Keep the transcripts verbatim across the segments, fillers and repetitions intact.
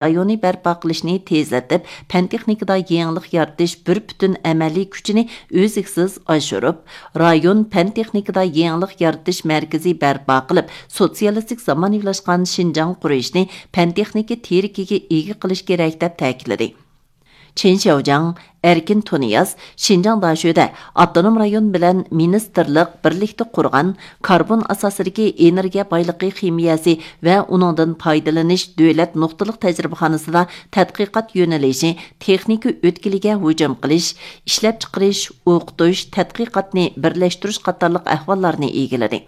رايونى بەرپا قىلىشنى تېزلىتىپ، پەن تېخنىكىدا يېڭىلىق يارىتىش بىر پۈتۈن ئەمەلىي كۈچىنى ئۈزلۈكسىز ئاشۇرۇپ، رايون پەن تېخنىكىدا يېڭىلىق يارىتىش مەركىزى بەرپا قىلىپ، سوتسىيالىستىك زامانىۋىلاشقان شىنجاڭ قۇرۇشنى پەن تېخنىكا تىرىكىگە ئىگە قىلىش كېرەك، دەپ تەكىتلىدى. چېن شياۋجياڭ، ئەركىن تۇنىياز شىنجاڭ داشۆدە ئاپتونوم رايون بىلەن مىنىستىرلىق بىرلىكتە قۇرغان كاربون ئاساسىدىكى ئېنېرگىيە بايلىقى خىمىيەسى ۋە ئۇنىڭدىن پايدىلىنىش دۆلەت نۇقتىلىق تەجرىبىخانىسىدا تەتقىقات يۆنىلىشى تېخنىكا ئۆتكىلىگە ھۇجۇم قىلىش، ئىشلەپچىقىرىش، ئوقۇتۇش، تەتقىقاتنى بىرلەشتۈرۈش قاتارلىق ئەھۋاللارنى ئىگىلىدى.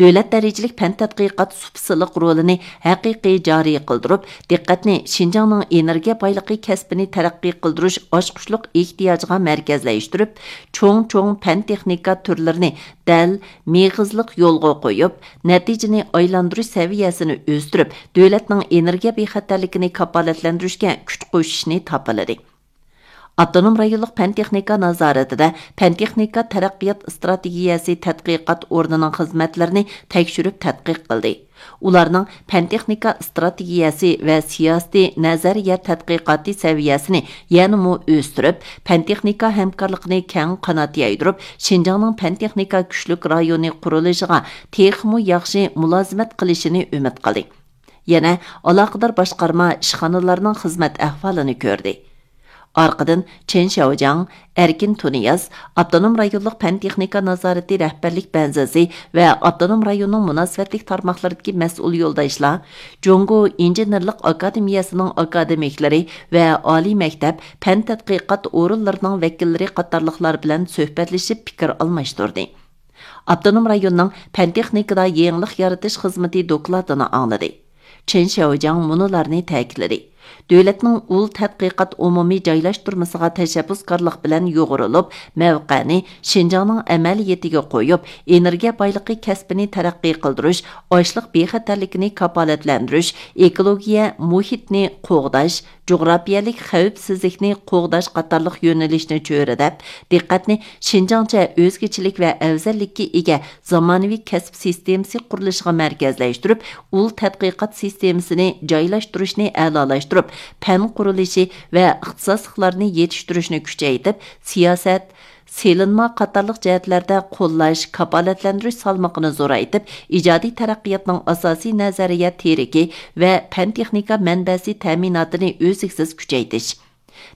دۆلەت دەرىجىلىك پەن تەتقىقات سۇپىسىلىق رولىنى ھەقىقىي جارى قىلدۇرۇپ، دىققەتنى شىنجاڭنىڭ ئېنېرگىيە بايلىقى كەسپىنى تەرەققىي قىلدۇرۇش ئاچقۇچلۇق ئېھتىياجىغا مەركەزلەشتۈرۈپ، چوڭ-چوڭ پەن تېخنىكا تۈرلىرىنى دەل، مېغىزلىق يولغا قويۇپ، نەتىجىنى ئايلاندۇرۇش سەۋىيەسىنى ئۆستۈرۈپ، دۆلەتنىڭ ئېنېرگىيە بىخەتەرلىكىنى كاپالەتلەندۈرۈشكە كۈچ قوشۇشنى تاپىلىدى. ئاپتونوم رايونلۇق پەن تېخنىكا نازارىتىدە پەن تېخنىكا تەرەققىيات ئىستراتېگىيەسى تەتقىقات ئورنىنىڭ خىزمەتلىرىنى تەكشۈرۈپ تەتقىق قىلدى. ئۇلارنىڭ پەن تېخنىكا ئىستراتېگىيەسى ۋە سىياسىتى نەزەرىيە تەتقىقاتى سەۋىيەسىنى يەنىمۇ ئۆستۈرۈپ، پەن تېخنىكا ھەمكارلىقىنى كەڭ قانات يايدۇرۇپ، شىنجاڭنىڭ پەن تېخنىكا كۈچلۈك رايونى قۇرۇلۇشىغا تېخىمۇ ياخشى مۇلازىمەت قىلىشىنى ئۈمىد قىلدى. يەنە ئالاقىدار باشقارما ئىشخانىلارنىڭ خىزمەت ئەھۋالىنى كۆردى. ئارقىدىن چېن شياۋجياڭ، ئەركىن تۇنىياز، ئاپتونوم رايونلۇق پەن تېخنىكا نازارىتى رەھبەرلىك بەنزىسى ۋە ئاپتونوم رايوننىڭ مۇناسىۋەتلىك تارماقلىرىدىكى مەسئۇل يولداشلار، جۇڭگو ئىنژېنېرلىق ئاكادېمىيەسىنىڭ ئاكادېمىكلىرى ۋە ئالىي مەكتەپ، پەن تەتقىقات ئورۇنلىرىنىڭ ۋەكىللىرى قاتارلىقلار بىلەن سۆھبەتلىشىپ پىكىر ئالماشتۇردى. ئاپتونوم رايوننىڭ پەن تېخنىكىدا يېڭىلىق يارىتىش خىزمىتى دوكلاتىنى ئاڭلىدى. چېن شياۋجياڭ مۇنۇلارنى تەكىتلىدى: دۆلەتنىڭ ئۇل تەتقىقات ئومۇمىي جايلاشتۇرمىسىغا تەشەببۇسكارلىق بىلەن يۇغۇرۇلۇپ، مەۋقەنى شىنجاڭنىڭ ئەمەلىيىتىگە قويۇپ، ئېنېرگىيە بايلىقى كەسپىنى تەرەققىي قىلدۇرۇش، ئاشلىق بىخەتەرلىكىنى كاپالەتلەندۈرۈش، ئېكولوگىيە مۇھىتنى قوغداش، جۇغراپىيەلىك خەۋپسىزلىكنى قوغداش قاتارلىق يۆنىلىشنى چۆرىدەپ، دىققەتنى شىنجاڭچە ئۆزگىچىلىك ۋە ئەۋزەللىككە ئىگە زامانىۋى كەسىپ سىستېمىسى قۇرۇلۇشىغا مەركەزلەشتۈرۈپ، ئۇل تەتقىقات سىستېمىسىنى جايلاشتۇرۇشنى ئەلالاشتۇرۇپ، پەن قۇرۇلۇشى ۋە ئىختىساسلىقلارنى يېتىشتۈرۈشنى كۈچەيتىپ، سىياسەت، سېلىنما قاتارلىق جەھەتلەردە قوللاش، كاپالەتلەندۈرۈش سالمىقىنى زورايتىپ، ئىجادىي تەرەققىياتنىڭ ئاساسىي نەزەرىيە تىرىكى ۋە پەن تېخنىكا مەنبەسى تەمىناتىنى ئۈزلۈكسىز كۈچەيتىش.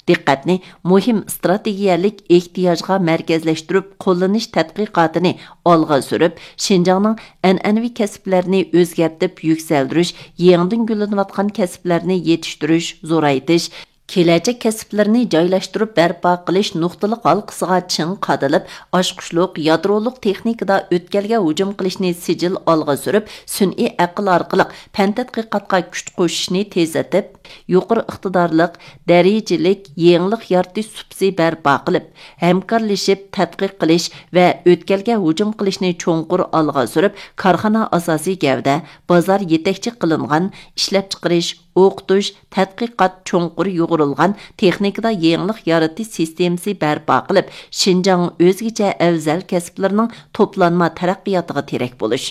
دىققەتنى مۇھىم ئىستراتېگىيەلىك ئېھتىياجغا مەركەزلەشتۈرۈپ، قوللىنىش تەتقىقاتىنى ئالغا سۈرۈپ، شىنجاڭنىڭ ئەنئەنىۋى كەسىپلەرنى ئۆزگەرتىپ يۈكسەلدۈرۈش، يېڭىدىن گۈللىنىۋاتقان كەسىپلەرنى يېتىشتۈرۈش، زورايتىش، كېلەچەك كەسىپلىرىنى جايلاشتۇرۇپ بەرپا قىلىش نۇقتىلىق ھالقىسىغا چىڭ قادىلىپ، ئاچقۇچلۇق يادرولۇق تېخنىكىدا ئۆتكەلگە ھۇجۇم قىلىشنى سىجىل ئالغا سۈرۈپ، سۈنئىي ئەقىل ئارقىلىق پەن تەتقىقاتقا كۈچ قوشۇشنى تېزلىتىپ، يۇقىرى ئىقتىدارلىق، دەرىجىلىك يېڭىلىق يارىتىش سۇپىسى بەرپا قىلىپ، ھەمكارلىشىپ تەتقىق قىلىش ۋە ئۆتكەلگە ھۇجۇم قىلىشنى چوڭقۇر ئالغا سۈرۈپ، كارخانا ئاساسىي گەۋدە، بازار يېتەكچى قىلىنغان، ئىشلەپچىقىرىش، ئوقۇتۇش، تەتقىقات چوڭقۇر يۇغۇرۇلغان تېخنىكىدا يېڭىلىق يارىتىش سىستېمىسى بەرپا قىلىپ، شىنجاڭ ئۆزگىچە ئەۋزەل كەسىپلىرىنىڭ توپلانما تەرەققىياتىغا تىرەك بولۇش.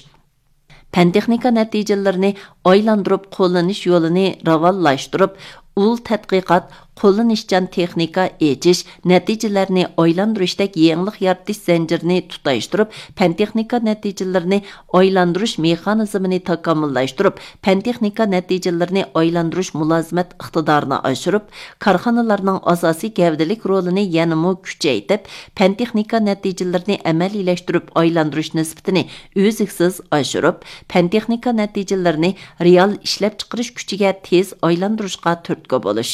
پەن تېخنىكا نەتىجىلىرىنى ئايلاندۇرۇپ قوللىنىش يولىنى راۋانلاشتۇرۇپ، ئۇل تەتقىقات، قوللىنىشچان تېخنىكا ئېچىش، نەتىجىلەرنى ئايلاندۇرۇشتەك يېڭىلىق يارىتىش زەنجىرىنى تۇتاشتۇرۇپ، پەن تېخنىكا نەتىجىلىرىنى ئايلاندۇرۇش مېخانىزمىنى تاكامۇللاشتۇرۇپ، پەن تېخنىكا نەتىجىلىرىنى ئايلاندۇرۇش مۇلازىمەت ئىقتىدارىنى ئاشۇرۇپ، كارخانىلارنىڭ ئاساسىي گەۋدىلىك رولىنى يەنىمۇ كۈچەيتىپ، پەن تېخنىكا نەتىجىلىرىنى ئەمەلىيلەشتۈرۈپ ئايلاندۇرۇش نىسبىتىنى ئۈزلۈكسىز ئاشۇرۇپ، پەن تېخنىكا نەتىجىلىرىنى رېئال ئىشلەپچىقىرىش كۈچىگە تېز ئايلاندۇرۇشقا تۈرتكە بولۇش.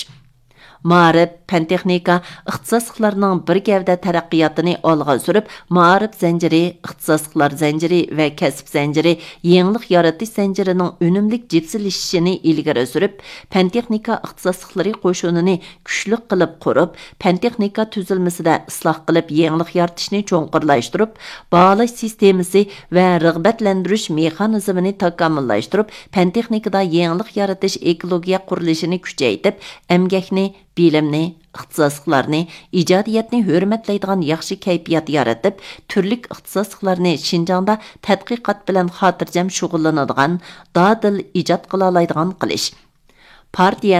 مائارىپ، پەن تېخنىكا، ئىختىساسلىقلارنىڭ بىر گەۋدە تەرەققىياتىنى ئالغا سۈرۈپ، مائارىپ زەنجىرى، ئىختىساسلىقلار زەنجىرى ۋە كەسىپ زەنجىرى، يېڭىلىق يارىتىش زەنجىرىنىڭ ئۈنۈملۈك جىپسىلىشىشىنى ئىلگىرى سۈرۈپ، پەن تېخنىكا ئىختىساسلىقلىرى قوشۇنىنى كۈچلۈك قىلىپ قۇرۇپ، پەن تېخنىكا تۈزۈلمىسىدە ئىسلاھ قىلىپ يېڭىلىق يارىتىشنى چوڭقۇرلاشتۇرۇپ، باھالاش سىستېمىسى ۋە رىغبەتلەندۈرۈش مېخانىزمىنى تاكامۇللاشتۇرۇپ، پەن تېخنىكىدا يېڭىلىق يارىتىش ئېكولوگىيە قۇرۇلۇشىنى كۈچەيتىپ، ئەمگەكنى، بىلىمنى، ئىختىساسلىقلارنى، ئىجادىيەتنى ھۆرمەتلەيدىغان ياخشى كەيپىيات يارىتىپ، تۈرلۈك ئىختىساسلىقلارنى شىنجاڭدا تەتقىقات بىلەن خاتىرجەم شۇغۇللىنىدىغان، دادىل ئىجاد قىلالايدىغان قىلىش. پارتىيە